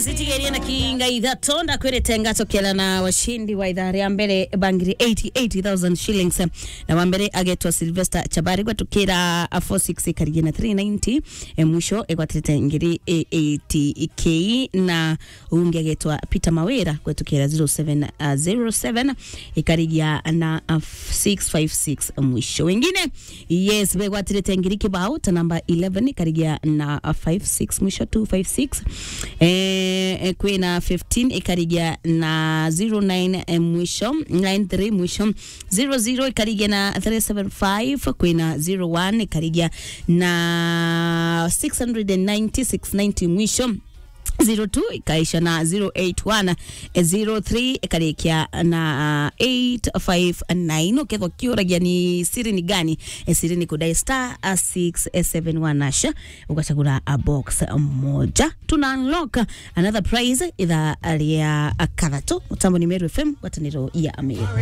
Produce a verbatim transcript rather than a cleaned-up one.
Sitigerie na kinga ithatu, ndakwirite ngacokera na washindi wa ithaa ria mbere bangiri eighty-eight thousand shillings. Na wa mbere agetwa Sylvester Chabari gwetukira four six ikarigia na three ninety. E, mwisho egwatirite ngiri eighty K, na ungi agetwa Peter Mawira gwetukira zero seven zero seven ikarigia na, uh, six five six mwisho. Wengine, yes, begwatirite ngiri kibao ta namba eleven ikarigia na, uh, five six mwisho, two five six. Eh, eh, kwina fifteen ikarigia na zero nine, eh, mwisho, nine three mwisho, zero zero ikarigia na three seven five, kwina zero one ikarigia na six hundred and ninety, six ninety mwisho. Zero two ikaisha na zero eight one, eh, zero three ikarikia na, ah, eight five nine. Ukethwa kiuragia ni siri ni gani? Eh, siri ni kudai star, ah, six seven one hash, ugachagura a box moja. Tuna unlock another prize ithaa ria kathatu. Mutambo ni Meru F M, ngwataniro ya Meru.